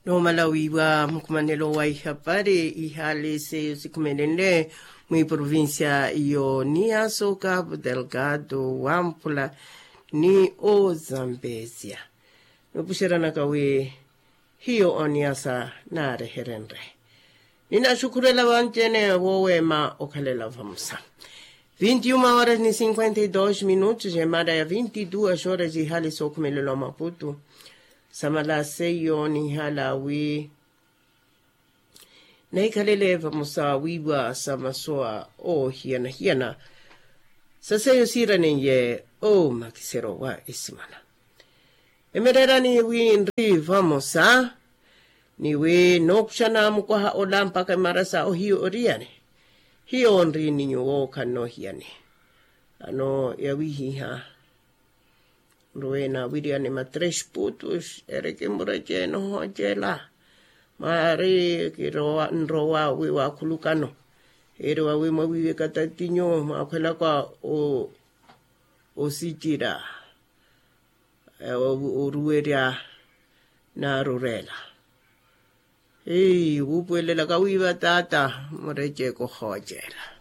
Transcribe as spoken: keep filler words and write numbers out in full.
Noomala wiiwa mukhumanelo wa ihapari ihaali seiyo sikhumelenle mwiprovincia y'oniyaso cabo delgado wamphula ni ozambesia. Noopuxeranaka wi hiyo oniyasa naareherenre. Ninaxukhurela vanci-ene wooweema okhalela vamosa. Vinti uma horas ni cinquenta e dos minutos emara ya vinti duas horas ihali sookhumelela omaputu. Samala seiyo nihala wi nahikhalele vamosa wiiwa sa masowa oohiyana-hiyana sa seiyo siiraneiye oomakiseryo wa esimana. Emereerani wi nri vamosa ni wi nookuxana mukwaha ola mpakha emara sa ohiyo oriyani. Hiyo nri ni nyuwo khannoohiyani. Ano yawihiha nruwe naawiriyani ma tres putus ereke mureceene ohoocela. Mwaari kirowa nrowa wi waakhulukano eri wawi mwawiiweka tatinyu mwaakhwelaka osicira oruwerya naarurela. Hii wuupuwelelaka wiiva taata mureceeke ohoocela.